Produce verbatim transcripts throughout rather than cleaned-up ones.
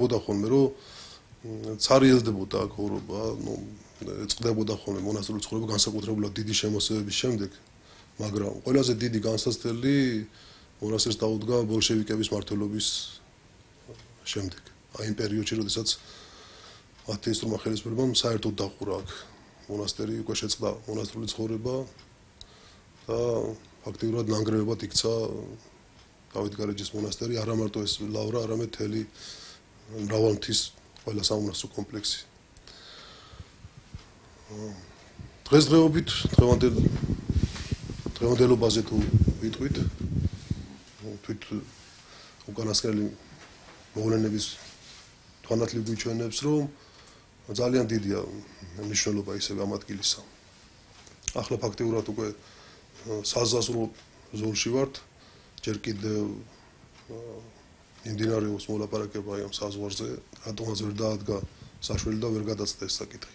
ხოდა ხოლმე რომ ცარიელდებოდა აქ ორობა, ნუ ეწყდებოდა ხოლმე მონასტრის ცხოვრება განსაკუთრებულად დიდი შემოსევების შემდეგ, მაგრამ ყველაზე დიდი განსაცდელი მონასტერს დაუდგა ბოლშევიკების მმართველობის შემდეგ. აი იმ პერიოდში, როდესაც ათეისტურმა ხელისუფლებამ საერთოდ დახურა აქ მონასტერი, უკვე შეწყდა მონასტრული ცხოვრება და ფაქტიურად ნანგრევებად იქცა დავით გარეჯის მონასტერი, არა მარტო ეს ლავრა, არამედ მთელი მრავალმთის ყველა სამონასტრო კომპლექსი. დღესდღეობით დღევანდელ დღევანდელობაზე თუ ვიტყვით, თვით უკანასკნელი მოვლენების თვალთლი გვიჩვენებს, რომ ძალიან დიდია მნიშვნელობა ისევ ამ ადგილისა. ახლა ფაქტიურად უკვე საზაზრო ზოლში ვართ, ჯერ კიდევ იმდინარეობს მოლაპარაკება ამ საზღვარზე, რატომაც ვერ დაადგა საშველი და ვერ გადაწყვეტა ეს საკითხი.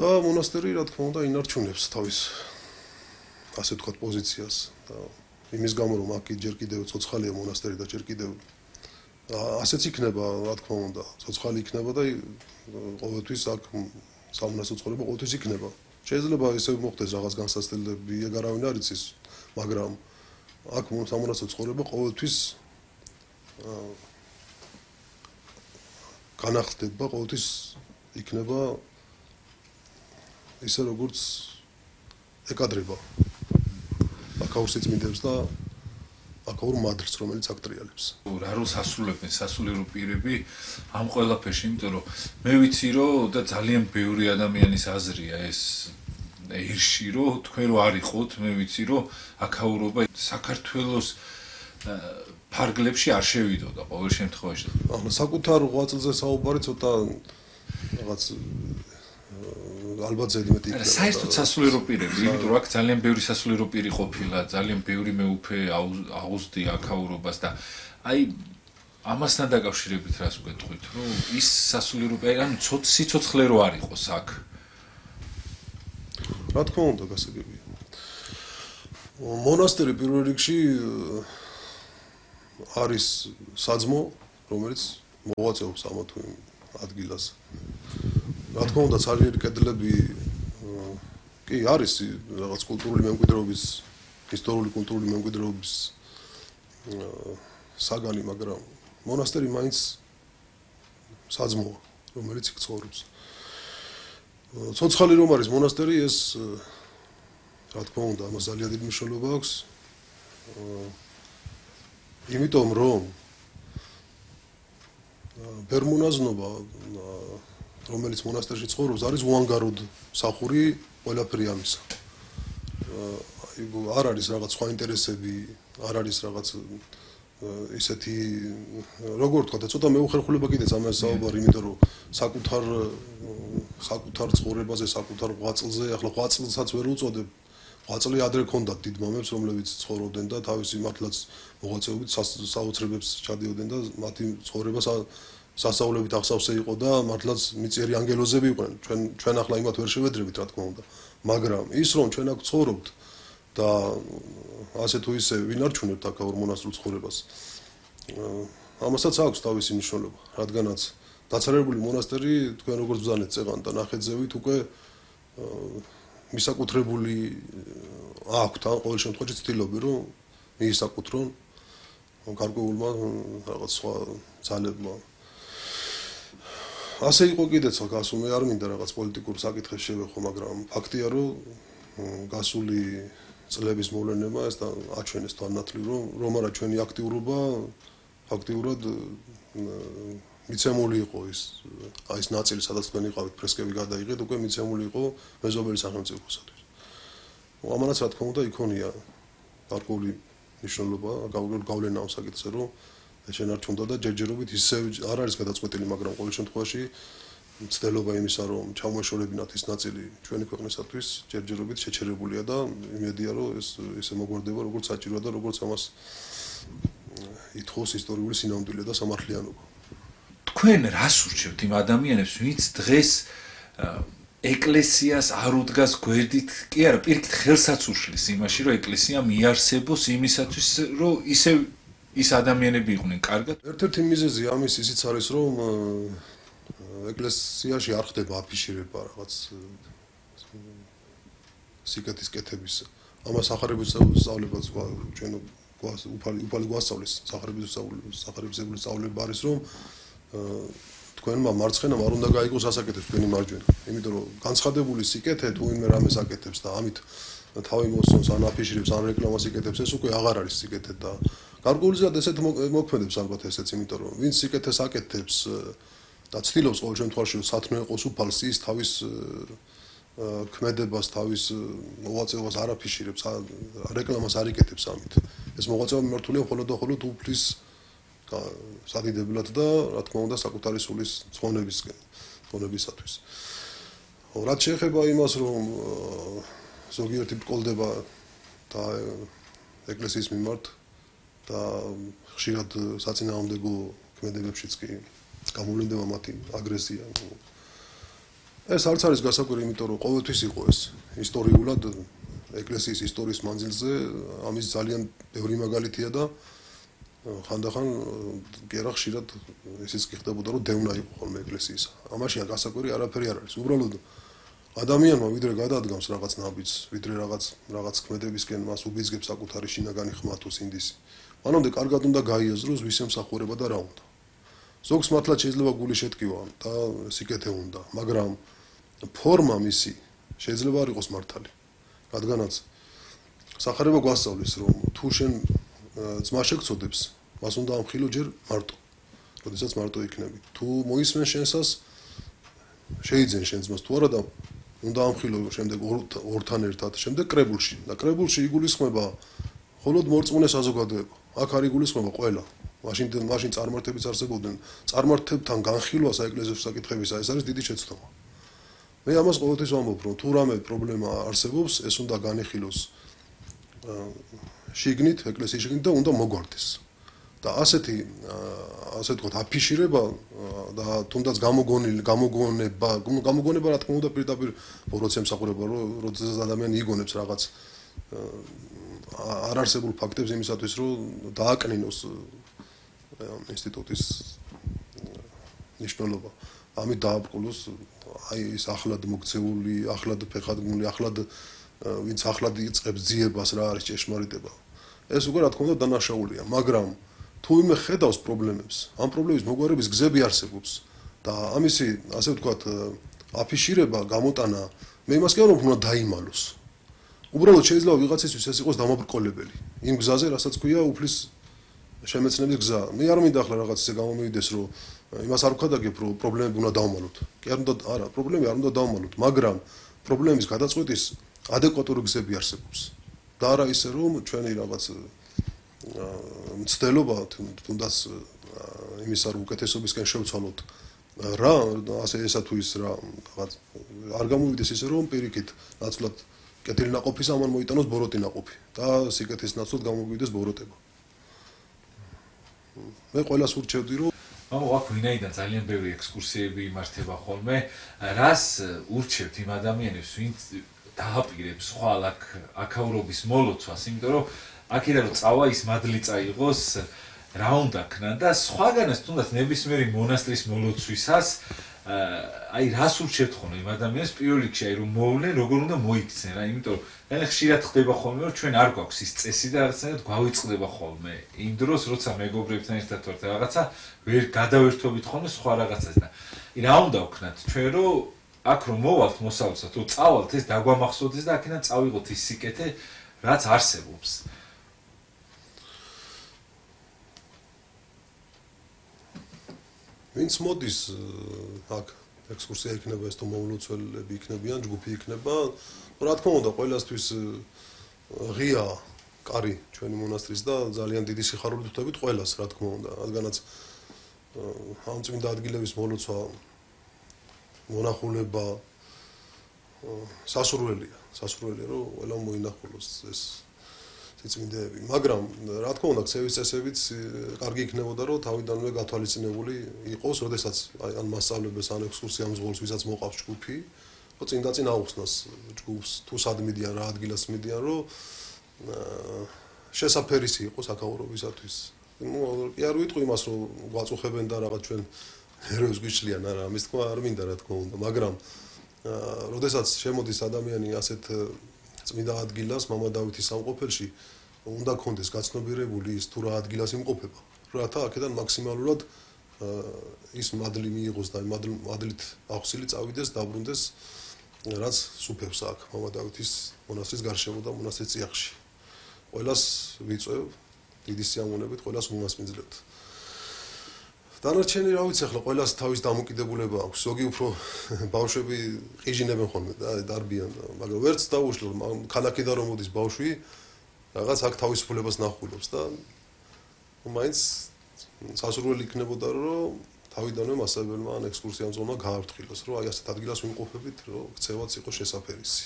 და მონასტერი, რა თქმა უნდა, ინარჩუნებს თავის ასე ვთქვათ პოზიციას და იმის გამო, რომ აქ ჯერ კიდევ ცოცხალია მონასტერი და ჯერ კიდევ ასეც იქნება, რა თქმა უნდა, ცოცხალი იქნება და ყოველთვის აქ სამონასტრო ცხოვრება ყოველთვის იქნება. შეიძლება ისევ მოხდეს რაღაც განსაცდელები, ეგ არავინ არ იცის, მაგრამ აქ სამონასტრო ცხოვრება ყოველთვის განახლდება, ყოველთვის იქნება ისე როგორც ეკადრება აქაურ სიწმინდებს და აქაურ მადრს, რომელიც აქ ტრიალებს. რა როლს ასრულებენ სასულიერო პირები ამ ყველაფერში, იმიტომ რომ მე ვიცი რომ და ძალიან ბევრი ადამიანის აზრია ეს ერში რომ თქვენ რო არ იყოთ, მე ვიცი რომ აქაურობა საქართველოს ფარგლებში არ შევიდოდა ყოველ შემთხვევაში. ახლა საკუთარ ღვაწლზე საუბარი ცოტა რაღაც ალბათ ზედმეტი იქნება. საერთოდ სასულიერო პირები, იმიტომ რომ აქ ძალიან ბევრი სასულიერო პირი ყოფილა, ძალიან ბევრი მეუფე აუზდი აქაურობას და აი ამასთან დაკავშირებით რას ვგეტყვით, რომ ის სასულიერო პირი, ანუ სიცოცხლე რო არ იყოს აქ. რა თქმა უნდა, გასაგებია. მონასტერი პირველ რიგში არის საძმო, რომელიც მოღვაწეობს ამა თუ იმ ადგილას. რა თქმა უნდა, ცარიერი კედლები კი არის რაღაც კულტურული მემკვიდრეობის, ისტორიული კულტურული მემკვიდრეობის საგანი, მაგრამ მონასტერი მაინც საძმოა, რომელიც იქ ცხოვრობს. ცოცხალი რომ არის მონასტერი, ეს რა თქმა უნდა, ამას ძალიან დიდი მნიშვნელობა აქვს. იმიტომ რომ ბერმონაზნობა, რომელიც მონასტერში ცხოვრობს, არის უანგაროდ სახური ყველაფერი ამისა. არ არის რაღაც სხვა ინტერესები, არ არის რაღაც ისეთი, როგორ ვთქვა და ცოტა მეუხერხულება კიდეც ამას საუბარი, იმიტომ რომ საკუთარ საკუთარ ცხოვრებაზე, საკუთარ ღვაწლზე, ახლა ღვაწლსაც ვერ უწოდებ. ღვაწლი ადრე ქონდათ დიდმამებს, რომლებიც ცხოვრობდნენ და თავისი მართლაც მოღვაწეობით საოცრებებს ჩადიოდნენ და მათი ცხოვრება სასწაულებით ახსავსე იყო და მართლაც მიწიერი ანგელოზები იყვნენ. ჩვენ ჩვენ ახლა იმათ ვერ შევედრებით, რა თქმა უნდა. მაგრამ ის რომ ჩვენ აქ ცხოვრობთ და ასე თუ ისე ვინარჩუნებთ აქაურ მონასტრულ ცხოვრებას, ამასაც აქვს თავისი მნიშვნელობა, რადგანაც დაცარებული მონასტერი, თქვენ როგორც ბრძანეთ წეღან და ნახეთზევით უკვე მისაკუთრებული აქვთ, ან ყოველ შემთხვევაში ცდილობენ, რომ მიისაკუთრონ გარკვეულმა რაღაც სხვა ძალებმა. ასე იყო კიდეც, გასულ მე არ მინდა რაღაც პოლიტიკურ საკითხებს შევეხო, მაგრამ ფაქტია, რომ გასული წლების მოვლენებმა ეს აჩვენეს თვალნათლივ, რომ რომ არა ჩვენი აქტიურობა ფაქტიურად მიცემული იყო ის აი ეს ნაწილი, სადაც თქვენ იყავით, ფრესკები გადაიღეთ, უკვე მიცემული იყო მეზობელი სახელმწიფოსათვის. ამანაც რა თქმა უნდა იქონია გარკვეული მნიშვნელობა, გავლენა ამ საკითხზე, რომ შენარჩუნდა და ჯერჯერობით ისევ არ არის გადაწყვეტილი, მაგრამ ყოველ შემთხვევაში მცდელობა იმისა, რომ ჩამოეშორებინათ ის ნაწილი ჩვენი ქვეყნისათვის, ჯერჯერობით შეჩერებულია და იმედია, რომ ეს ესე მოგვარდება, როგორც საჭიროა და როგორც ამას ითხოვს ისტორიული სინამდვილე და სამართლიანობა. თქვენ რას ურჩევთ იმ ადამიანებს, ვინც დღეს ეკლესიას არ უდგას გვერდით, კი არა, პირიქით ხელსაც უშლის იმაში, რომ ეკლესია მიარსებოს იმისათვის, რომ ისევ ის ადამიანები იყვნენ კარგად. ერთ-ერთი მიზეზი ამის ისიც არის, რომ ეკლესიაში არ ხდება აფიშირება რაღაც სიკეთის კეთების. ამას სახარების სწავლებაც ჩვენ უფალი უფალი გვასწავლის სახარების სახარებისებული სწავლება არის, რომ თქვენმა მარცხენამ არ უნდა გაიგოს ასაკეთებს თქვენი მარჯვენა. იმიტომ რომ განცხადებული სიკეთე თუ ვინმე რამეს აკეთებს და ამით თავი მოსწონს ან აფიშირებს ან რეკლამას იკეთებს, ეს უკვე აღარ არის სიკეთე და გარკვეულწილად ესეთ მოქმედებს ალბათ ესეც, იმიტომ რომ ვინც სიკეთეს აკეთებს და ცდილობს ყოველ შემთხვევაში სათნო იყოს უფალს, ის თავის ქმედებას, თავის მოღვაწეობას არ აფიშირებს, რეკლამას არ იკეთებს ამით. ეს მოღვაწეობა მიმართულია მხოლოდ და მხოლოდ უფლის სადიდებლად და რა თქმა უნდა საკუთარი სულის ცხონებისკენ, ცხონებისათვის. რაც შეეხება იმას, რომ ზოგიერთი ბრკოლდება და ეკლესიის მიმართ და ხშირად საწინააღმდეგო ქმედებებშიც კი გამოვლინდება მათი აგრესია. ეს არც არის გასაკვირი, იმიტომ რომ ყოველთვის იყო ეს ისტორიულად ეკლესიის ისტორიის მანძილზე ამის ძალიან ბევრი მაგალითია და ხანდახან გერა ხშირად ისიც კი ხდებოდა, რომ დევნა იყო ხოლმე ეკლესიის. ამაშია გასაკვირი არაფერი არ არის. უბრალოდ ადამიანმა ვიდრე გადადგამს რაღაც ნაბიჯს, ვიდრე რაღაც რაღაც ქმედებისკენ მას უბიძგებს საკუთარი შინაგანი ხმა თუ სინდისი. მანამდე კარგად უნდა გაიაზროს ვის ემსახურება და რა უნდა. ზოგს მართლაც შეიძლება გული შეტკივა და სიკეთე უნდა, მაგრამ ფორმა მისი შეიძლება არ იყოს მართალი. რადგანაც სახარება გვასწავლის, რომ თუ შენ ძმა შეგწოდებს, მას უნდა ამხილო ჯერ მარტო. როდესაც მარტო იქნები. თუ მოისმენ შენსას, შეიძენ შენ ძმას თუ არა და უნდა ამხილო შემდეგ ორთან ერთად, შემდეგ კრებულში. და კრებულში იგულისხმება მხოლოდ მორწმუნე საზოგადოება. აქ არ იგულისხმება ყველა. მაშინ მაშინ წარმართებიც არსებობდნენ. წარმართებთან განხილვა საეკლესიო საკითხებისა, ეს არის დიდი შეცდომა. მე ამას ყოველთვის ვამბობ, რომ თუ რამე პრობლემა არსებობს, ეს უნდა განიხილოს შიგნით, ეკლესიის შიგნით და უნდა მოგვარდეს. და ასეთი ასე ვთქვათ, აფიშირება და თუნდაც გამოგონილი, გამოგონება, გამოგონება რა თქმა უნდა პირდაპირ როცა ემსახურება, როდესაც ადამიანი იგონებს რაღაც არ არსებულ ფაქტებს იმისათვის, რომ დააკნინოს ინსტიტუტის ნიშნულობა. ამით დააბრკოლოს აი ეს ახლად მოქცეული, ახლად ფეხადგმული, ახლად ვინც ახლად იწყებს ძიებას რა არის ჭეშმარიტება. ეს უკვე რა თქმა უნდა დანაშაულია, მაგრამ თუ ვინმე ხედავს პრობლემებს, ამ პრობლემის მოგვარების გზები არსებობს და ამისი, ასე ვთქვათ, აფიშირება, გამოტანა, მე იმას კი არ ვამბობ, უნდა დაიმალოს. უბრალოდ შეიძლება ვიღაცისთვის ეს იყოს დამაბრკოლებელი. იმ გზაზე, რასაც ქვია უფლის შემეცნების გზა. მე არ მინდა ახლა რაღაც ისე გამომივიდეს, რომ იმას არ ვქადაგებ, რომ პრობლემები უნდა დავმალოთ. კი არ უნდა, არა, პრობლემები არ უნდა დავმალოთ, მაგრამ პრობლემის გადაწყვეტის ადეკვატური გზები არსებობს. და არა ისე, რომ ჩვენი რაღაც მცდელობა თუნდაც იმის არ უკეთესობისკენ შევცვალოთ რა, ასე ესა თუ ის რა, რაღაც არ გამოვიდეს ისე, რომ პირიქით ნაცვლად კეთილი ნაყოფის ამან მოიტანოს ბოროტი ნაყოფი და სიკეთის ნაცვლად გამოვიდეს ბოროტება. მე ყველას ურჩევდი, რომ მამო, აქ ვინაიდან ძალიან ბევრი ექსკურსიები იმართება ხოლმე, რას ურჩევთ იმ ადამიანებს, ვინც დააპირებს ხვალ აქ აქაურობის მოლოცვას, იმიტომ რომ აქედან რომ წავა ის მადლი წაიღოს, რა უნდა ქნა და სხვაგანაც თუნდაც ნებისმიერი მონასტრის მოლოცვისას აი რას ურჩევთ ხოლმე იმ ადამიანს პირველ რიგში, აი რომ მოვლენ, როგორ უნდა მოიქცნენ რა, იმიტომ რომ ძალიან ხშირად ხდება ხოლმე, რომ ჩვენ არ გვაქვს ის წესი და რაღაცნაირად გვავიწყდება ხოლმე. იმ დროს როცა მეგობრებთან ერთად ვართ რაღაცა ვერ გადავერთობით ხოლმე სხვა რაღაცას და რა უნდა ვქნათ ჩვენ რომ აქ რომ მოვალთ მოსავლსა თუ წავალთ ეს დაგვამახსოვდეს და აქედან წავიღოთ ის სიკეთე რაც არსებობს. ვინც მოდის აქ ექსკურსია იქნება ეს თუ მოვლოცველები იქნებიან, ჯგუფი იქნება, რა თქმა უნდა ყველასთვის ღია კარი ჩვენი მონასტრის და ძალიან დიდი სიხარულით ვხვდებით ყველას, რა თქმა უნდა, რადგანაც ამ წმინდა ადგილების მოლოცვა მონახულება სასურველია, სასურველია რომ ყველა მოინახულოს ეს წმინდები, მაგრამ რა თქმა უნდა ქცევის წესებიც კარგი იქნებოდა რომ თავიდანვე გათვალისწინებული იყოს, როდესაც აი ან მასწავლებელს ან ექსკურსია მზღოლს ვისაც მოყავს ჯგუფი, რომ წინ და წინ აუხსნას ჯგუფს თუ სად მიდიან რა ადგილას მიდიან, რომ შესაფერისი იყოს აქაურობისათვის. ნუ კი არ ვიტყვი იმას რომ გვაწუხებენ და რაღაც ჩვენ ჰეროებს გვიშლიან არა ამის თქმა არ მინდა რა თქმა უნდა მაგრამ როდესაც შემოდის ადამიანი ასეთ წმინდა ადგილას მამა დავითის სამყოფელში უნდა კონდეს გაცნობიერებული ის თუ რა ადგილას იმყოფება რათა აქედან მაქსიმალურად ის მადლი მიიღოს და მადლით ახსილი წავიდეს დაბრუნდეს რაც სუფევს აქ მამა დავითის მონასტრის გარშემო და მონასტრის წიაღში ყველას ვიწევ დიდი სიამოვნებით ყველას უმასპინძლებთ დანარჩენი რა ვიცი ახლა ყველას თავის დამოკიდებულება აქვს ზოგი უფრო ბავშვები ყიჟინებენ ხოლმე და დარბიან მაგრამ ვერც დაუშლო ქალაქიდან რომ მოდის ბავშვი რაღაც აქ თავისუფლებას ნახულობს და მაინც სასურველი იქნებოდა რომ თავიდანვე მასწავლებელმა ან ექსკურსიამ ზონა გააფრთხილოს რომ აი ასეთ ადგილას ვიმყოფებით რომ ქცევაც იყოს შესაფერისი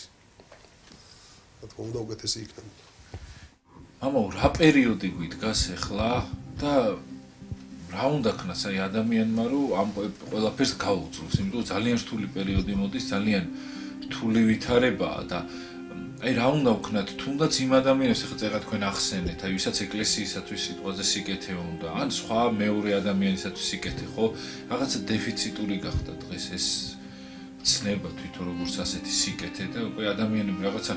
რა თქმა უნდა უკეთესი იქნება მამა რა პერიოდი გიდგას ახლა და რა უნდა ქნას აი ადამიანმა რომ ამ ყველაფერს გაუძლოს იმიტომ რომ ძალიან რთული პერიოდი მოდის ძალიან რთული ვითარებაა და აი რა უნდა ვქნათ თუნდაც იმ ადამიანებს ახლა წერა თქვენ ახსენეთ აი ვისაც ეკლესიისათვის სიტყვაზე სიკეთე უნდა ან სხვა მეორე ადამიანისათვის სიკეთე ხო რაღაცა დეფიციტური გახდა დღეს ეს ცნება თვითონ როგორც ასეთი სიკეთე და უკვე ადამიანები რაღაცა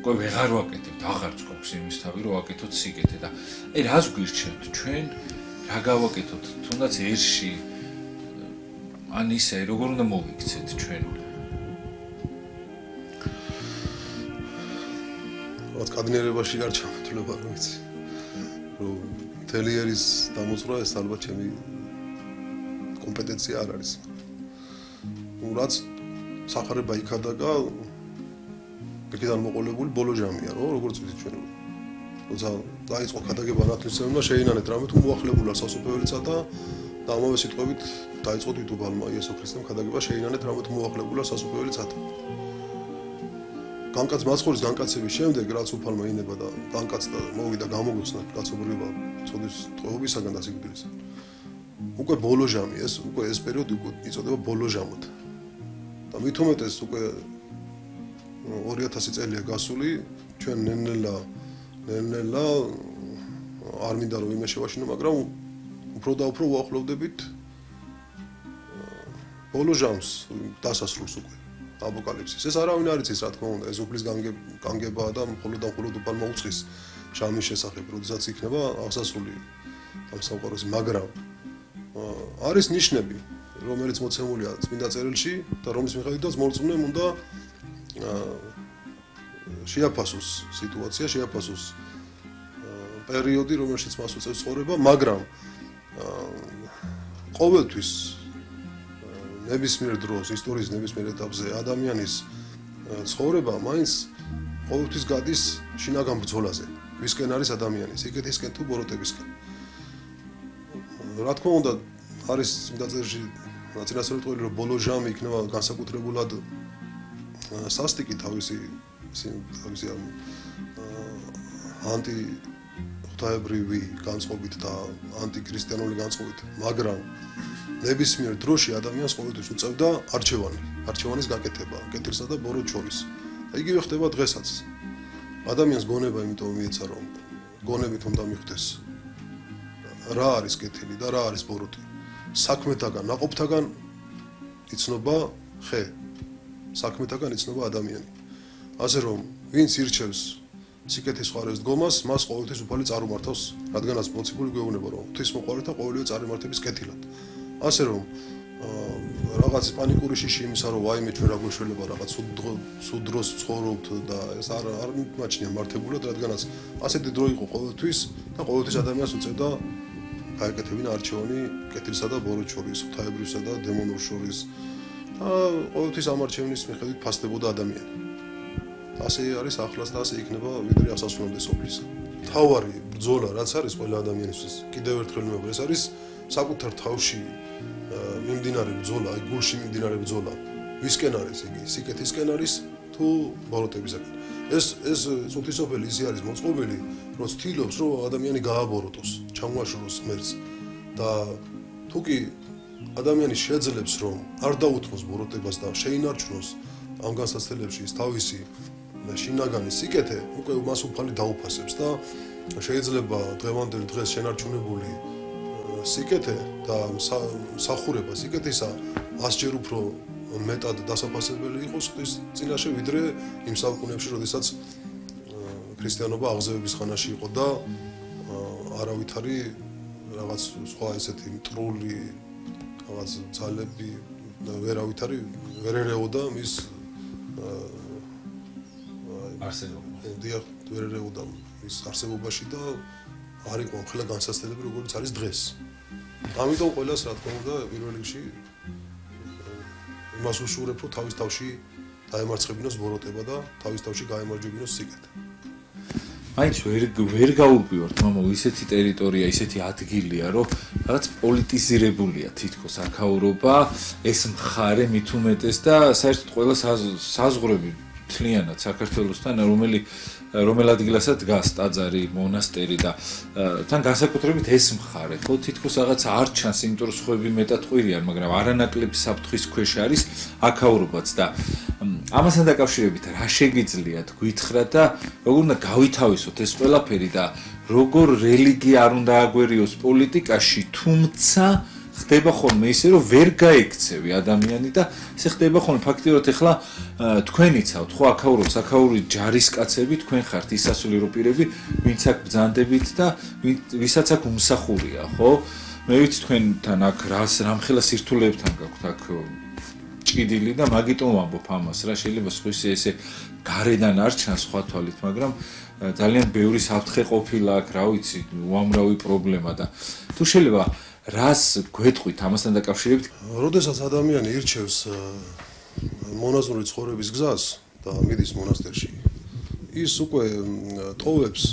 უკვე ვეღარ ვაკეთებთ აღარც გვაქვს იმის თავი რომ ვაკეთოთ სიკეთე და აი რას გვირჩევთ ჩვენ რა გავაკეთოთ თუნდაც ერში ან ისე როგორ უნდა მოვიქცეთ ჩვენ რაც კადნიერებაში არ ჩამოთვლება რა ვიცი რომ თელიერის დამოწვრა ეს ალბათ ჩემი კომპეტენცია არ არის ნუ რაც სახარება იქადაგა იქიდან მოყოლებული ბოლო ჟამია რო როგორც ვიცით ჩვენ როცა დაიწყო ქადაგება ნათლისმცემელმა შეინანეთ რამე თუ მოახლებულა სასופველიცა და და ამავე სიტყვებით დაიწყო თვითუბალმა იესო ქრისტემ ქადაგება შეინანეთ რამე თუ მოახლებულა სასופველიცა განკაც მაცხოვრის განკაცების შემდეგ რაც უფალმა ინება და განკაცდა მოვიდა გამოგვიხსნა კაცობრიობა წოდის ტყვეობისაგან და სიკვდილისა უკვე ბოლო ჟამი ეს უკვე ეს პერიოდი უკვე იწოდება ბოლო ჟამად და მით უმეტეს უკვე ორი ათასი წელია გასული ჩვენ ნელ-ნელა ნელ-ნელა არ მინდა რომ იმე შევაშინო მაგრამ უფრო და უფრო ვაახლოვდებით ბოლო ჟამს დასასრულს უკვე აპოკალიფსის ეს არავინ არ იცის რა თქმა უნდა ეს უფლის განგებაა და მხოლოდ და მხოლოდ უფალმა უწყის ჟამის შესახებ როდესაც იქნება აღსასრული ამ სამყაროში მაგრამ არის ნიშნები რომელიც მოცემულია წმინდა წერილში და რომლის მიხედვითაც მორწმუნემ უნდა შეაფასოს სიტუაცია შეაფასოს პერიოდი რომელშიც მას უწევს ცხოვრება მაგრამ ყოველთვის ნებისმიერ დროს ისტორიის ნებისმიერ ეტაპზე ადამიანის ცხოვრება მაინც ყოველთვის გადის შინაგან ბრძოლაზე ვისკენ არის ადამიანი სიკეთისკენ თუ ბოროტებისკენ რა თქმა უნდა არის წმინდა წერილში ნაწილასწორებული რომ ბოლო ჟამი იქნება განსაკუთრებულად სასტიკი თავისი თავისი ანტი ღვთაებრივი განწყობით და ანტიქრისტიანული განწყობით მაგრამ ნებისმიერ დროში ადამიანს ყოველთვის უწევდა არჩევანი არჩევანის გაკეთება კეთილსა და ბოროტს შორის და იგივე ხდება დღესაც ადამიანს გონება იმიტომ მიეცა რომ გონებით უნდა მიხვდეს რა არის კეთილი და რა არის ბოროტი საქმეთაგან ნაყოფთაგან იცნობა ხე საქმეთაგან იცნობა ადამიანი ასე რომ ვინც ირჩევს სიკეთის ხარეს დგომას მას ყოველთვის უფალი წარუმართავს რადგანაც მოციქული გვეუბნება რომ ღვთისმოყვარეთა ყოველივე წარიმართების კეთილად ასე რომ რაღაც პანიკური შიში იმისა რომ ვაიმე ჩვენ რა გვეშველება რაღაც სულ დროს ცხოვრობთ და ეს არ არ მიმაჩნია მართებულად რადგანაც ასეთი დრო იყო ყოველთვის და ყოველთვის ადამიანს უწევდა გაეკეთებინა არჩევანი კეთილსა და ბოროტს შორის ღვთაებრივსა და დემონურ შორის და ყოველთვის ამ არჩევნის მიხედვით ფასდებოდა ადამიანი ასე არის ახლაც და ასე იქნება ვიდრე ასასრულამდე სოფლისა თავარი ბრძოლა რაც არის ყველა ადამიანისთვის კიდევ ერთხელ მეუბნები ეს არის საკუთარ თავში მიმდინარე ბრძოლა აი გულში მიმდინარე ბრძოლა ვისკენ არის იგი სიკეთისკენ არის თუ ბოროტებისკენ ეს ეს წუთისოფელი ისე არის მოწყობილი რომ ცდილობს რომ ადამიანი გააბოროტოს ჩამოაშოროს ღმერთს და თუ კი ადამიანი შეძლებს რომ არ დაუთმოს ბოროტებას და შეინარჩუნოს ამ განსაცდელებში ის თავისი შინაგანი სიკეთე უკვე მას უფალი დაუფასებს და შეიძლება დღევანდელი დღეს შენარჩუნებული სიკეთე და სახურება სიკეთისა ასჯერ უფრო მეტად დასაფასებელი იყოს ხდის წინაშე ვიდრე იმ საუკუნეებში, როდესაც ქრისტიანობა აღზევების ხანაში იყო და არავითარი რაღაც სხვა ესეთი მტრული რაღაც ძალები ვერავითარი ვერ ერეოდა მის არსებობა. დიახ, ვერ ერეოდა მის არსებობაში და არ იყო ხელა განსაცდელები როგორც არის დღეს. ამიტომ ყველას რა თქმა უნდა პირველ რიგში იმას უშურებ, რომ თავის თავში დაემარცხებინოს ბოროტება და თავის თავში გაემარჯვებინოს სიკეთე. მაინც ვერ ვერ გაუპიროთ, მამო, ისეთი ტერიტორია, ისეთი ადგილია, რომ რაღაც პოლიტიზირებულია თითქოს აქაურობა, ეს მხარე მით უმეტეს და საერთოდ ყველა საზღვრები მთლიანად საქართველოსთან, რომელი რომელ ადგილასაც დგას ტაძარი, მონასტერი და თან განსაკუთრებით ეს მხარე, ხო, თითქოს რაღაც არ ჩანს, იმიტომ რომ სხვები მეტად ყვირიან, მაგრამ არანაკლები საფრთხის ქვეშ არის აქაურობაც და ამასთან დაკავშირებით რა შეგიძლიათ გითხრათ და როგორ უნდა გავითავისოთ ეს ყველაფერი და როგორ რელიგია არ უნდა აგვერიოს პოლიტიკაში, თუმცა ხდება ხოლმე ისე რომ ვერ გაექცევი ადამიანი და ესე ხდება ხოლმე ფაქტიურად ეხლა თქვენიცავთ ხო აქაურობს აქაური ჯარისკაცები თქვენ ხართ ისასულიერო პირები ვინც აქ ბრძანდებით და ვისაც აქ უმსახურია ხო მე ვიცი თქვენთან აქ რას რამხელა სირთულეებთან გაქვთ აქ ჭიდილი და მაგიტომ ვამბობ ამას რა შეიძლება სხვის ესე გარედან არ ჩანს სხვა თვალით მაგრამ ძალიან ბევრი საფრთხე ყოფილა აქ რა ვიცი უამრავი პრობლემა და თუ შეიძლება რას გვეტყვით ამასთან დაკავშირებით? როდესაც ადამიანი ირჩევს მონაზვნური ცხოვრების გზას და მიდის მონასტერში, ის უკვე ტოვებს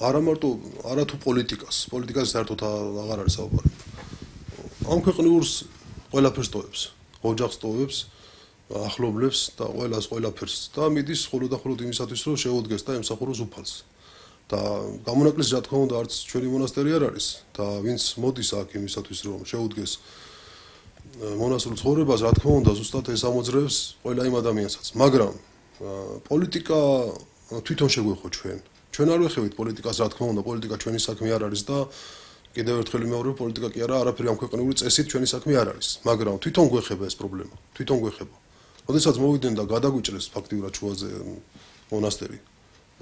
არა მარტო არათუ პოლიტიკას, პოლიტიკას საერთოდ აღარ არის საუბარი. ამ ქვეყნიურს ყველაფერს ტოვებს, ოჯახს ტოვებს, ახლობლებს და ყველას ყველაფერს და მიდის ხოლო და ხოლო იმისათვის, რომ შეუდგეს და ემსახუროს უფალს. და გამონაკლისი რა თქმა უნდა არც ჩვენი მონასტერი არ არის და ვინც მოდის აქ იმისათვის რომ შეუდგეს მონასტრულ ცხოვრებას რა თქმა უნდა ზუსტად ეს ამოძრევს ყველა იმ ადამიანსაც მაგრამ პოლიტიკა თვითონ შეგვეხო ჩვენ ჩვენ არ ვეხევით პოლიტიკას რა თქმა უნდა პოლიტიკა ჩვენი საქმე არ არის და კიდევ ერთხელ მეორე პოლიტიკა კი არა არაფერი ამ ქვეყნიური წესით ჩვენი საქმე არ არის მაგრამ თვითონ გვეხება ეს პრობლემა თვითონ გვეხება როდესაც მოვიდნენ და გადაგვიჭრეს ფაქტიურად შუაზე მონასტერი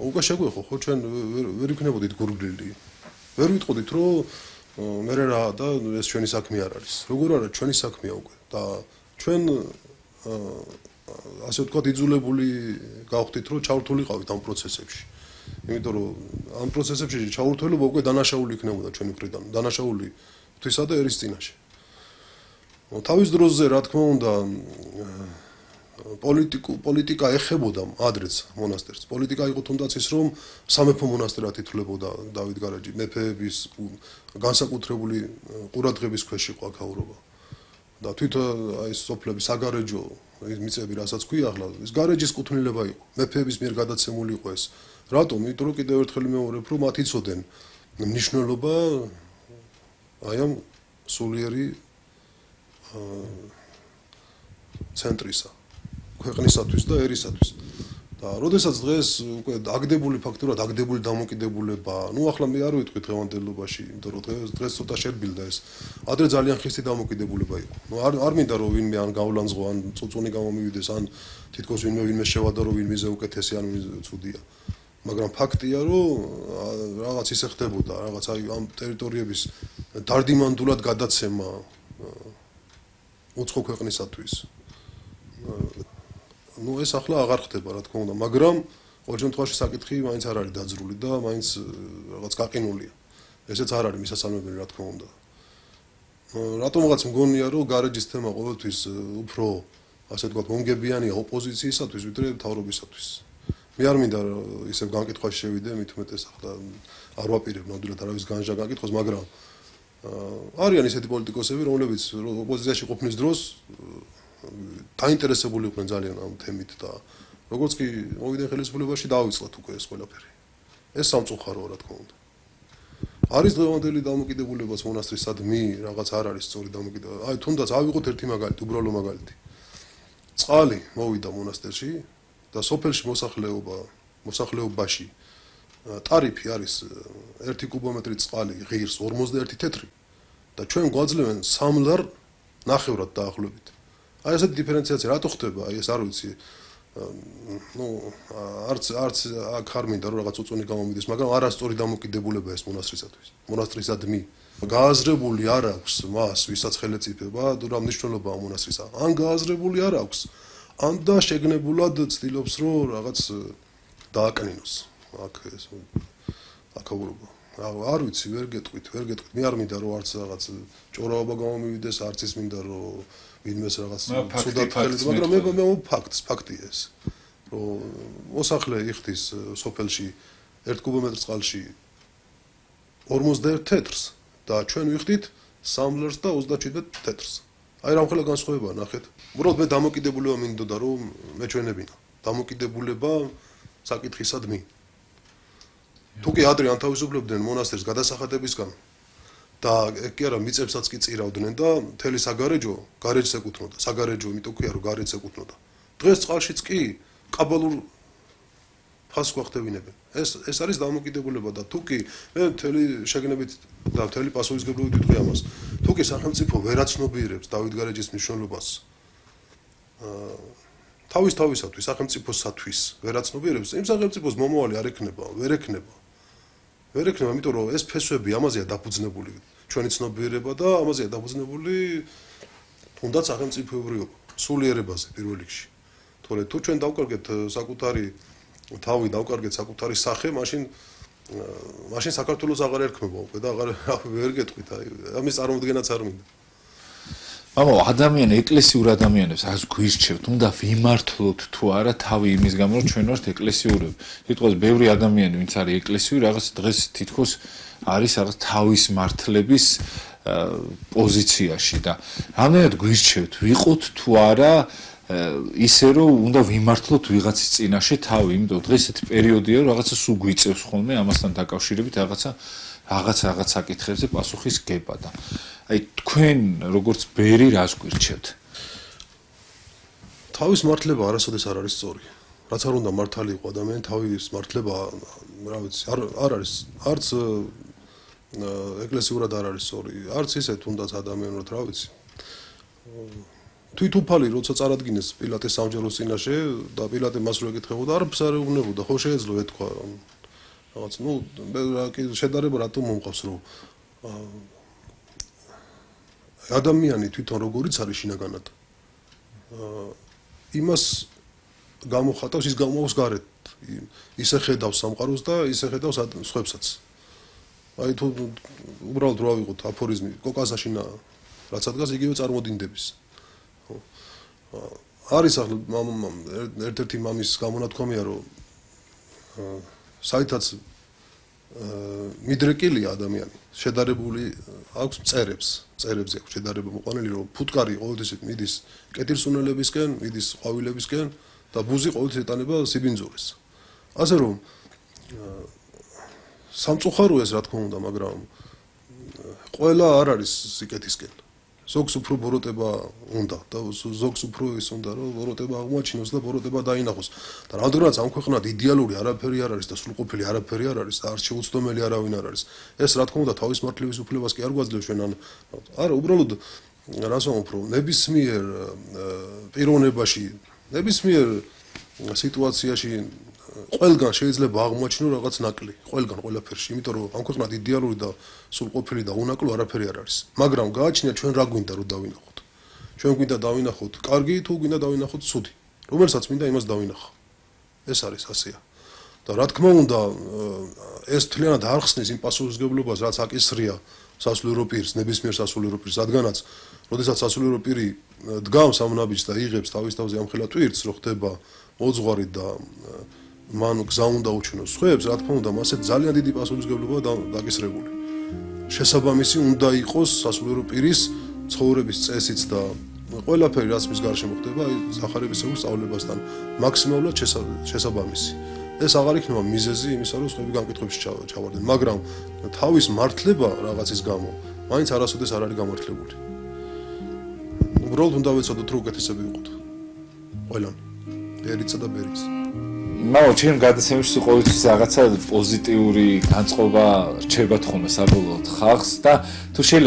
უკვე შეგვეხო ხო ჩვენ ვერ იქნებოდით გურგლილი ვერ ვიტყოდით რომ მე რა და ეს ჩვენი საქმე არ არის როგორ არა ჩვენი საქმეა უკვე და ჩვენ ასე ვთქვათ იძულებული გავხდით რომ ჩავრთულიყავით ამ პროცესებში იმიტომ რომ ამ პროცესებში ჩავრთულობა უკვე დანაშაული იქნებოდა ჩვენი მხრიდან დანაშაული ღვთისა და ერის წინაშე თავის დროზე რა თქმა უნდა პოლიტიკა პოლიტიკა ეხებოდა ადრეც მონასტერს. პოლიტიკა იყო თუნდაც ის რომ სამეფო მონასტერად ითვლებოდა დავით გარაჯი, მეფეების განსაკუთრებული ყურადღების ქვეშ იყო აქაურობა. და თვით აი სოფლების საგარეჯო მიწები რასაც ქვია ახლა ის გარეჯის კუთვნილება იყო. მეფეების მიერ გადაცემული იყო ეს. რატომ? იმიტომ რომ კიდევ ერთხელ მეორებ რომ მათ იცოდნენ მნიშვნელობა აი ამ სულიერი ცენტრისა. ქვეყნისათვის და ერისათვის. და როდესაც დღეს უკვე აგდებული ფაქტურად აგდებული დამოკიდებულება, ну ახლა მე არ ვიტყვი დღევანდელობაში, იმიტომ რომ დღეს დღეს ცოტა შერბილდა ეს. ადრე ძალიან ხისტი დამოკიდებულება იყო. ну არ არ მინდა რომ ვინმე ან გავლანძღო ან წუწუნი გამომივიდეს ან თითქოს ვინმე ვინმე შევადო რომ ვინმეზე უკეთესი ან ვინმე ცუდია. მაგრამ ფაქტია რომ რაღაც ისე ხდებოდა, რაღაც აი ამ ტერიტორიების დარდიმანდულად გადაცემა უცხო ქვეყნისათვის. ну ეს ახლა აღარ ხდება რა თქმა უნდა მაგრამ ყოველ შემთხვევაში საკითხი მაინც არ არის დაძრული და მაინც რაღაც გაყინულია ესეც არ არის მისასალმებელი რა თქმა უნდა რატომღაც მგონია რომ გარეჯის თემა ყოველთვის უფრო ასე ვთქვათ მომგებიანია ოპოზიციისათვის ვიდრე მთავრობისათვის მე არ მინდა ისევ განკითხვაში შევიდე მით უმეტეს ახლა არ ვაპირებ ნამდვილად არავის განსჯა განკითხოს მაგრამ არიან ისეთი პოლიტიკოსები რომლებიც ოპოზიციაში ყოფნის დროს დაინტერესებული იყვნენ ძალიან ამ თემით და როგორც კი მოვიდნენ ხელისუფლებაში დავიწყოთ უკვე ეს ყველაფერი. ეს სამწუხაროა რა თქმა უნდა. არის დღევანდელი დამოკიდებულებაც მონასტრისადმი, რაღაც არ არის სწორი დამოკიდებულება. აი თუნდაც ავიღოთ ერთი მაგალითი, უბრალო მაგალითი. წყალი მოვიდა მონასტერში და სოფელში მოსახლეობა, მოსახლეობაში ტარიფი არის ერთი კუბომეტრი წყალი ღირს ორმოცდაერთი თეთრი და ჩვენ გვაძლევენ სამ ლარ ნახევრად დაახლოებით. აი ესეთი დიფერენციაცია რატო ხდება? აი ეს არ ვიცი. ну არც არც აქ არ მინდა რომ რაღაც უწონი გამომიდეს, მაგრამ არასწორი დამოკიდებულება ეს მონასტრისათვის. მონასტრისადმი გააზრებული არ აქვს მას, ვისაც ხელეწიფება, რა მნიშვნელობაა მონასტრისა. ან გააზრებული არ აქვს, ან და შეგნებულად ცდილობს რომ რაღაც დააკნინოს. აქ ეს აკაურობა. არ ვიცი, ვერ გეტყვით, ვერ გეტყვით. მე არ მინდა რომ არც რაღაც ჭორაობა გამომივიდეს, არც ის მინდა რომ ვინმეს რაღაც ცუდად ხელით, მაგრამ მე მე ფაქტს, ფაქტია ეს. რომ მოსახლე იხდის სოფელში ერთ კუბომეტრ წყალში ორმოცდაერთ თეთრს და ჩვენ ვიხდით სამ ლარს და ოცდაშვიდ თეთრს. აი რამხელა განსხვავებაა, ნახეთ. უბრალოდ მე დამოკიდებულება მინდოდა რომ მეჩვენებინა. დამოკიდებულება საკითხისადმი. თუ კი ადრე ანთავისუფლებდნენ მონასტერს გადასახადებისგან და ეგ კი არა მიწებსაც კი წირავდნენ და მთელი საგარეჯო გარეჯს ეკუთვნოდა. საგარეჯო იმიტომ ქვია რომ გარეჯს ეკუთვნოდა. დღეს წყალშიც კი კაბალურ ფასს გვახდებინებენ. ეს ეს არის დამოკიდებულება და თუ კი მე მთელი შეგნებით და მთელი პასუხისმგებლობით ვიტყვი ამას. თუ კი სახელმწიფო ვერაცნობიერებს დავით გარეჯის მნიშვნელობას აა თავის თავისათვის სახელმწიფოსათვის ვერაცნობიერებს, იმ სახელმწიფოს მომავალი არ ექნება, ვერ ექნება. ვერ ექნება, იმიტომ რომ ეს ფესვები ამაზეა დაფუძნებული. ჩვენი ცნობიერება და ამაზეა დაფუძნებული თუნდაც სახელმწიფოებრიობა, სულიერებაზე პირველ რიგში. თორე თუ ჩვენ დავკარგეთ საკუთარი თავი, დავკარგეთ საკუთარი სახე, მაშინ მაშინ საქართველოს აღარ ერქმება უკვე და აღარ ვერ გეტყვით, აი ამის წარმოდგენაც არ მინდა. მამო, ადამიანი, ეკლესიურ ადამიანებს ას გვირჩევთ, უნდა ვიმართლოთ თუ არა თავი იმის გამო, რომ ჩვენ ვართ ეკლესიურები. სიტყვაზე ბევრი ადამიანი, ვინც არის ეკლესიური, რაღაც დღეს თითქოს არის რაღაც თავის მართლების პოზიციაში და რამდენად გვირჩევთ, ვიყოთ თუ არა ისე რომ უნდა ვიმართლოთ ვიღაცის წინაშე თავი, იმიტომ დღეს ესეთი პერიოდია, რომ რაღაცა სულ გვიწევს ხოლმე ამასთან დაკავშირებით რაღაცა რაღაც რაღაც საკითხებზე პასუხის გება და აი თქვენ როგორც ბერი რას გვირჩევთ? თავის მართლება არასოდეს არ არის სწორი. რაც არ უნდა მართალი იყო ადამიანი, თავის მართლება, რა ვიცი, არ არ არის არც ეკლესიურად არ არის სწორი, არც ისე თუნდაც ადამიანურად, რა ვიცი. თვითუფალი როცა წარადგინეს პილატეს სამჯეროს წინაშე და პილატე მას რო ეკითხებოდა, არ ფსარეუბნებოდა, ხო შეეძლო ეთქვა რაღაც, ну, შედარება რატომ მომყავს, რომ ადამიანი თვითონ როგორიც არის შინაგანად. იმას გამოხატავს, ის გამოავს გარეთ. ისე ხედავს სამყაროს და ისე ხედავს სხვებსაც. აი თუ უბრალოდ რა ვიყოთ აფორიზმი, კოკასაშინა რაც ადგას იგივე წარმოდინდების. არის ახლა ერთ-ერთი მამის გამონათქვამია, რომ საერთოდ მიდრეკილია ადამიანი, შედარებული აქვს წერებს, წერებზე აქვს შედარება მოყვანილი, რომ ფუტკარი ყოველთვის მიდის კეთილსუნელებისკენ, მიდის ყვავილებისკენ და ბუზი ყოველთვის ეტანება სიბინძურეს. ასე რომ სამწუხაროა ეს რა თქმა უნდა, მაგრამ ყველა არ არის სიკეთისკენ. ზოგს უფრო ბოროტება უნდა და ზოგს უფრო ის უნდა რომ ბოროტება აღმოაჩინოს და ბოროტება დაინახოს. და რამდენადაც ამ ქვეყნად იდეალური არაფერი არ არის და სრულყოფილი არაფერი არ არის და არ შეუცდომელი არავინ არ არის. ეს რა თქმა უნდა თავის მართლების უფლებას კი არ გვაძლევს ჩვენ ან არა უბრალოდ რას ვამბობ რომ ნებისმიერ პიროვნებაში, ნებისმიერ სიტუაციაში ყველგან შეიძლება აღმოაჩინო რაღაც ნაკლი, ყველგან ყველაფერში, იმიტომ რომ ამ ქვეყნად იდეალური და სრულყოფილი და უნაკლო არაფერი არ არის. მაგრამ გააჩნია ჩვენ რა გვინდა რომ დავინახოთ. ჩვენ გვინდა დავინახოთ კარგი თუ გვინდა დავინახოთ ცუდი. რომელსაც მინდა იმას დავინახო. ეს არის ასეა. და რა თქმა უნდა ეს თლიანად არ ხსნის იმ პასუხისმგებლობას, რაც აკისრია სასულიერო პირს, ნებისმიერ სასულიერო პირს, რადგანაც როდესაც სასულიერო პირი დგამს ამ ნაბიჯს და იღებს თავის თავზე ამხელა ტვირთს, რო ხდება მოძღვარი და მან გზა უნდა უჩინოს სხვებს, რა თქმა უნდა, მასე ძალიან დიდი პასუხისმგებლობა დაკისრებული. შესაბამისი უნდა იყოს სასულიერო პირის ცხოვრების წესიც და ყველაფერი, რაც მის გარშემო ხდება, აი სახარებისეულ სწავლებასთან მაქსიმალურად შესაბამისი. ეს აღარ იქნება მიზეზი იმისა, რომ სხვები განკითხვებში ჩავარდნენ, მაგრამ თავის მართლება რაღაცის გამო, მაინც არასოდეს არ არის გამართლებული. უბრალოდ უნდა ვეცადოთ, რომ უკეთესები ვიყოთ. ყველანი, ბერიცა და ბერიც. მაო ჩემ გადაცემებში ყოველთვის რაღაცა პოზიტიური განწყობა რჩება თქონდა საბოლოოდ ხალხს და თუ შეიძლება